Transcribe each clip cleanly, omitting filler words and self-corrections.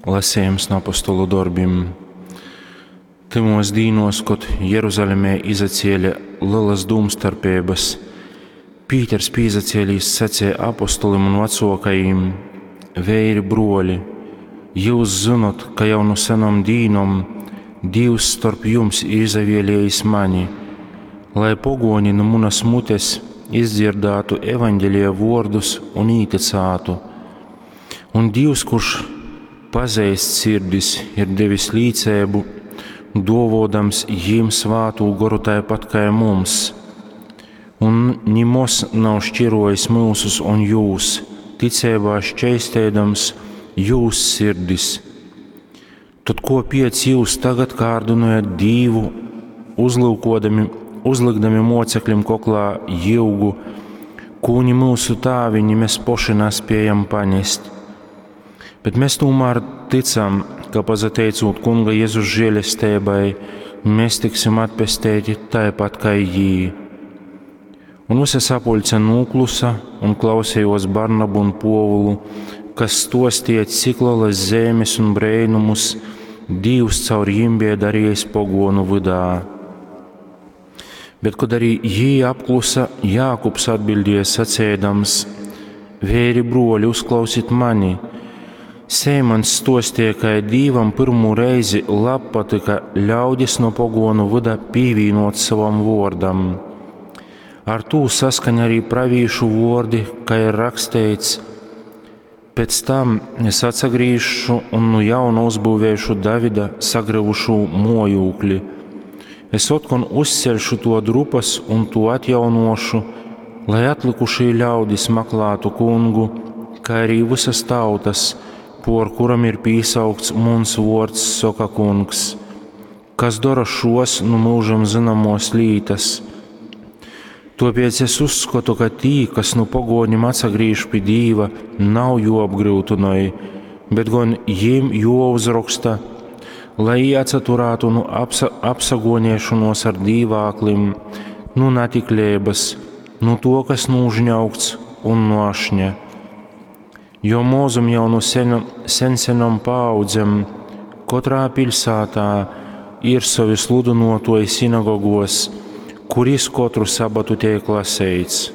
Lasejums nu apostolu dorbim. Tymōs dīnōs, kod Jeruzalemē izacēle lelas dūmstarpeibas, Pīters pīzacēlīs saceja apostolim un vacōkajim: Veiri, brōli, jyus zynot, ka jau nu senom dīnom Dīvs storp jums ir izavēlējis mani, lai pogōni nu munas mutes izdzierdātu Evangelija vōrdus un ītycātu. Un Dīvs, kurš pazeist sirdis, ir devis līceibu, dōvōdams jim Svātū Goru taipat kai mums. Un nimoz nav šķirojis myusus un jūs, ticeibā šķeisteidams jūs sirdis. Tad kōpēc jūs tagad kārdynojat Dīvu, uzlūkodami, uzlykdami moceklim koklā jyugu, kū ni myusu tāvi, ni mēs poši naspējam panest? Bet mēs tomēr ticam, ka pasateicūt Kunga Jezus žēlesteibai, mēs tiksim atpesteiti taipat kai jī. Un visa sapuļce nūklusa un klausējos Barnabu un Pōvulu, kas stostīja, cik lielas zemes un brēnumus Dīvs caur jim bija darījis pogonu vydā. Bet, kad arī jī apklusa, Jākubs atbildēja sacēdams: Vēri, broļi, uzklausit mani! Sēmans stostīja, ka Dīvam pirmo reizi labpatika ļaudis no pogonu vyda pīvīnot savam vōrdam. Ar tū saskaņ arī pravīšu vordi, ka ir raksteits: Pēc tam es atsagrīzšu un nu jauna uzbūvēšu Davida sagrivušū mojūkli. Es otkon uzceļšu to drupas un to atjaunošu, lai atlikušie ļaudis maklātu kungu, kā arī visas tautas, por kuram ir pīsaukts muns vords, soka kungs, kas dara šos nu mūžam zināmos lītas. Tāpēc es uzskatu, ka tī, kas nu pogoņiem atsagriež pie Dīva, nav joapgrūtinoj, bet gan jiem jouzraksta, lai atsaturētu nu apsa, apsagoniešanos ar dīvāklim, nu natiklības, nu to, kas nūžņaugts un no ašņa. Jo mūzum jau nu senu, sensenom paaudzem katrā pilsētā ir savi sludinotoji sinagogos, kuris katru sabatu tiek lasīts.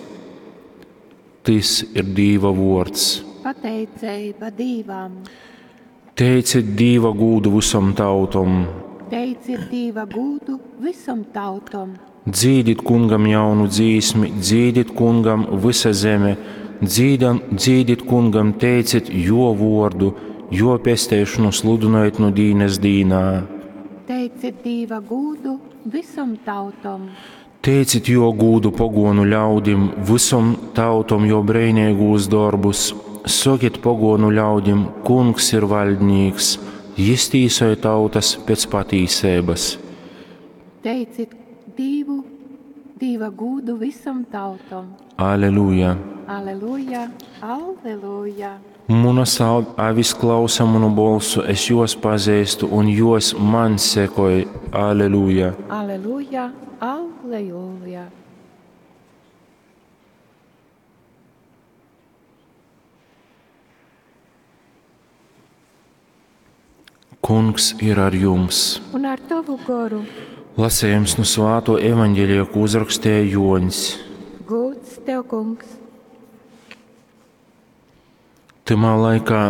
Tis ir Dīva vords. Pateiceiba Dīvam. Teiciet Dīva gūdu visom tautom. Teiciet Dīva gūdu visom tautom. Dzīdit kungam jaunu dzīsmi, dzīdit kungam visa zeme, dzīdam, dzīdit kungam, teiciet jo vordu, jo pesteišanu sludinojiet nu dīnes dīnā. Teiciet Dīva gūdu visom tautom. Teicit jo gūdu pogonu ļaudim, visom tautom jo breinīgūs darbus. Sokiet pogonu ļaudim, kungs ir valdnīks, jis tīsoja tautas pēc patīsības. Teicit Dīvu, Dīva gūdu visom tautom. Aleluja! Aleluja, aleluja! Munas avis klausa manu bolsu, es jos pazīstu un jos man sekoj. Aleluja! Aleluja, aleluja! Kungs ir ar jums! Un ar tavu goru. Lasējums no Svāto evaņģēlija, ko uzrakstīja Joņs. Gūds tev, kungs! Tymā laikā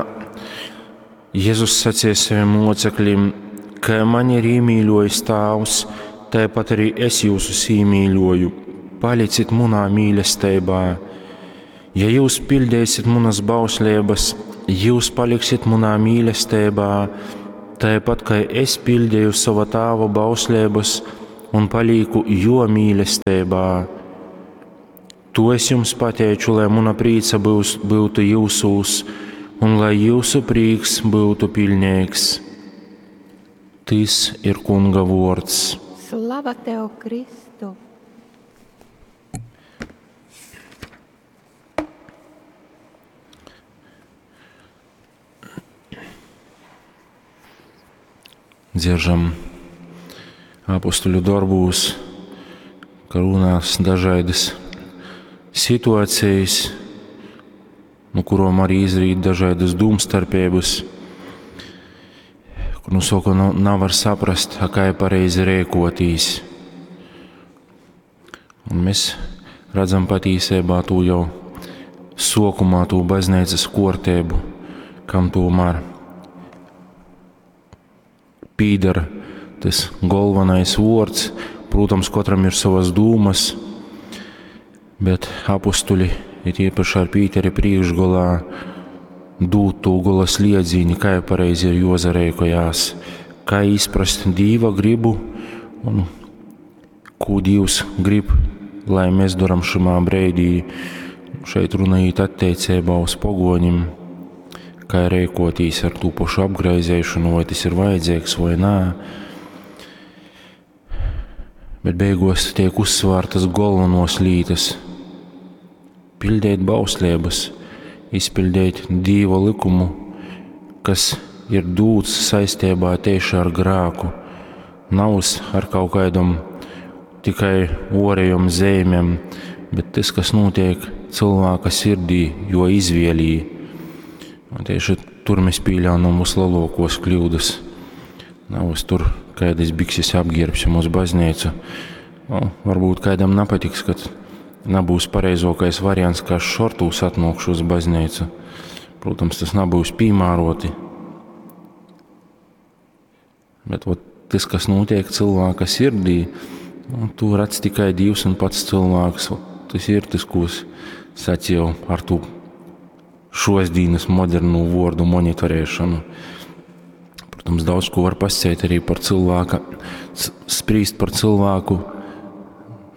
Jēzus sacīja saviem locekļiem, ka mani ir iemīļojis Tēvs, tāpat arī es jūsus iemīļoju. Palicit munā mīlestībā. Ja jūs pildīsiet manas bauslības, jūs paliksiet munā mīlestībā, tāpat kā es pildīju sava tēva bauslības un palīku jo mīlestībā. To es jums pateicu, lai muna prīca būs, būtu jūsūs un lai jūsu prīks būtu pilnīgs. Tis ir Kunga vords. Slava tev, Kristu! Dzieržam apustuļu darbūs, ka runās dažādas situācijas, no kurām arī izrīt dažādas domstarpības. Kur nu soka, nu, navar saprast, a kai pareizi rēkotīs. Un mēs redzam patīsībā tū jau sokumā, tū baznīcas kortēbu, kam tomēr pīdara tas galvenais vārds. Protams, katram ir savas dūmas, bet apustuļi, it īpaši ar Pīteri priekšgolā, dūt tū gola sliedzīni, kā pareizi ir jozarēkojās, kā izprast Dīva gribu un ko Dievs grib, lai mēs daram šimā breidī. Šeit runājot attiecībā uz pogoņim, kā rēkotīs ar tū pašu apgraizēšanu, vai tas ir vajadzīgs vai nā. Bet beigos tiek uzsvārtas galvenos lītas – pildēt bauslības, izpildīt Dīva likumu, kas ir dūts saistībā tieši ar grāku, nav ar kaut kādam tikai orējom zīmēm, bet tas, kas notiek cilvēka sirdī, jo izvēlī. Un tieši tur mēs pieļaunam vislielākos kļūdas. Nav uz tur, kādas bikses apģērbsim uz baznīcu. Nu, varbūt kādam nepatiks, kad nebūs pareizākais variants, kā šortūs atnākšu uz baznīcu. Protams, tas nebūs piemēroti. Bet vot, tas, kas notiek cilvēka sirdī, nu, to redz tikai Dievs un pats cilvēks. Vot, tas ir tas, ko es sacīju ar to šodienas modernu vārdu monitorēšanu. Protams, daudz ko var pasciet arī par cilvēka, sprīst par cilvēku,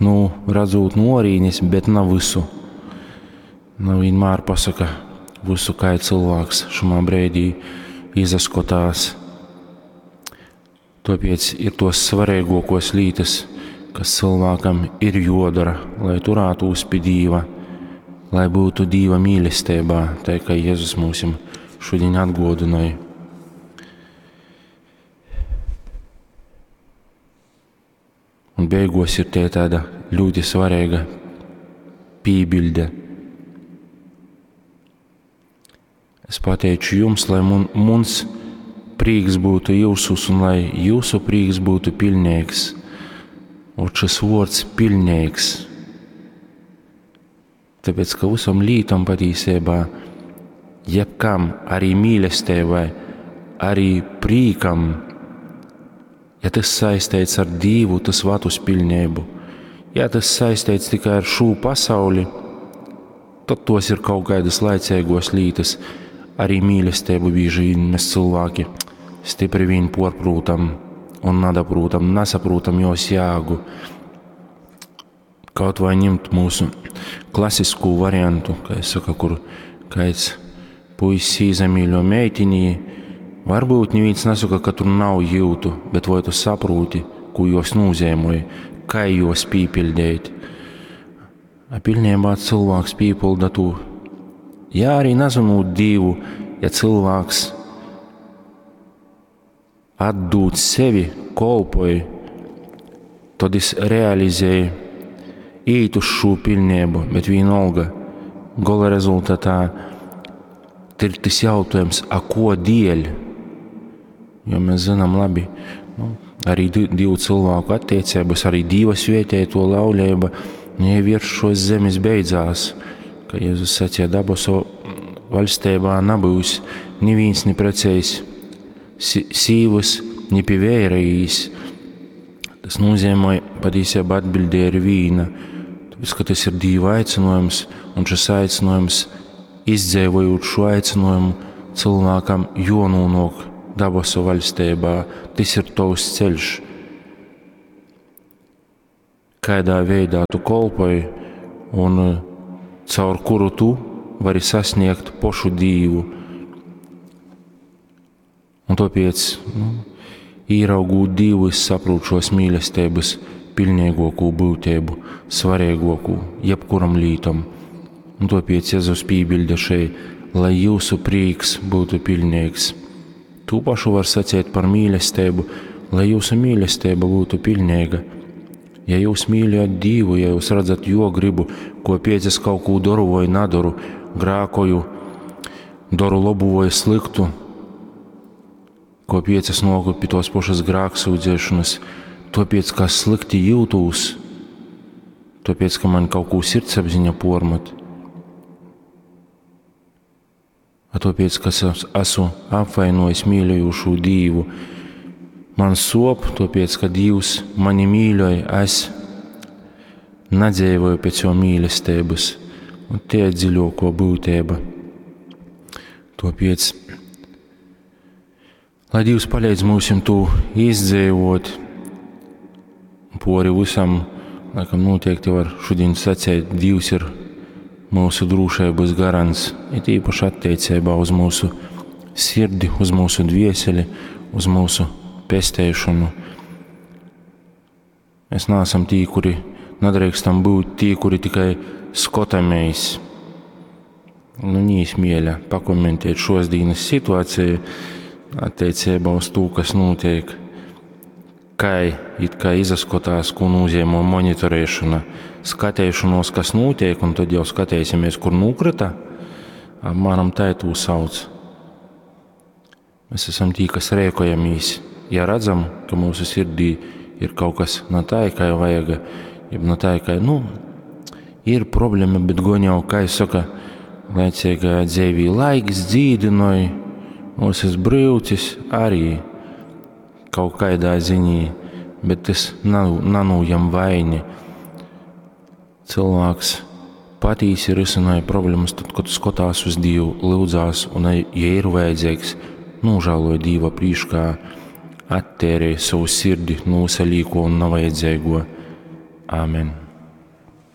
nu, redzot no orīnes, bet nav visu. Nav vienmēr pasaka visu, kā cilvēks šumā brīdī izaskotās. Tāpēc ir tos svarīgākos lietas, kas cilvēkam ir jodara, lai turētos pie Dieva, lai būtu Dieva mīlestībā, tā kā Jēzus mums šodien atgodināja. Un beigos ir tie tāda ļoti svarīga pībilde. Es pateicu jums, lai muns prīks būtu jūsus un lai jūsu prīks būtu pilnīgs. Un šis vārds pilnīgs. Tāpēc, ka visam lītam patiesībā, jebkam, arī mīlestībai, arī prīkam, ja tas saistīts ar Dievu, tas vad uz pilnību. Ja tas saistīts tikai ar šo pasauli, tad tos ir kaut kādas laicīgos lītas. Arī mīlestību bieži vien mēs cilvēki stipri vien porprūtam un nadaprūtam, nesaprūtam jos jēgu. Kaut vai ņemt mūsu klasisko variantu, kā es saku, kur kāds puisis iezamīļo meitini, varbūt neviens nesaka, ka tur nav jūtu, bet vai tu saproti, ko jos nozīmē, kā jos pīpildīt. A pilnībā cilvēks pīpilda to. Ja arī nezinot Dievu, ja cilvēks atdūt sevi, kolpoja, tad es realizēju, īt uz šo pilnību, bet vienalga, gala rezultātā ir tas jautājums, a ko dēļ? Jo mēs zinām labi, nu, arī divu cilvēku attiecības, arī Dieva svētēto laulība, nu, ja virs šos zemes beidzās, ka Jēzus sacīja, dabasu valstībā nebūs neviens ne precējis sīvas, ne pie vērējīs. Tas nozīmē, patiesībā atbildē ir vīna, tāpēc, ka tas ir Dieva aicinājums, un šis aicinājums, izdzīvojot šo aicinājumu, cilvēkam jononok dabasu valstībā. Tas ir tavs ceļš. Kādā veidā tu kolpoji un caur kuru tu vari sasniegt pošu Dievu. Un tāpēc, nu, īraugot Dievu, es saprotu šos mīlestības pilnīgāko būtību, svarīgāko jebkuram lītam. Un tāpēc Jēzus piebilda šeit, lai jūsu prieks būtu pilnīgs. To pašu var sacīt par mīlestību, lai jūsu mīlestība būtu pilnīga. Ja jūs mīļojat Dievu, ja jūs redzat jo gribu, ko pēc es kaut ko daru vai nedaru, grākoju, daru labu vai sliktu, Kāpēc es nōku pi tos pašas grāksūdzēšanas? Tāpēc, ka es slikti jūtos, tāpēc, ka man kaut ko sirdsapziņa pormat. A tāpēc, ka es esmu apvainojis mīļojošo Dīvu. Man sop, tāpēc, ka Dievs mani mīļoja, es nedzīvoju pēc jo mīlestības. Un tie ir dziļāko būtība. Tāpēc, lai Dievs palīdz mums to izdzīvot, pori visam, laikam noteikti var šodien sacīt, Dievs ir mūsu drošības garants, it īpaši attiecībā uz mūsu sirdi, uz mūsu dvieseli, uz mūsu pestēšanu. Mēs neesam tī, kuri nedrīkstam būt tī, kuri tikai skotamies. Nu, nīsmieļa pakomentēt šos dienas situāciju attiecībā uz to, kas notiek, kā it kā izaskotās, ko nozīmē monitorēšana, skatēšanos, kas notiek, un tad jau skatēsimies, kur nukrita, apmēram tā to sauc. Mēs esam tī, kas rēkojamies. Ja redzam, ka mūsu sirdī ir kaut kas ne tā, kā vajag, jeb ne tā, kā, nu, ir problēma, bet gon jau, kā es saka, laicīgajā dzīvī laiks dzīdinoja, mūsu brīvcis arī kaut kādā ziņā, bet tas nav, nanūjam vaini. Cilvēks patīsi risināja problēmas tad, kad skatās uz Dievu, lūdzās un, ja ir vajadzīgs, nožēloja Dieva prīškā, attērēja savu sirdi, nosalīko un nevajadzīgo. Āmen.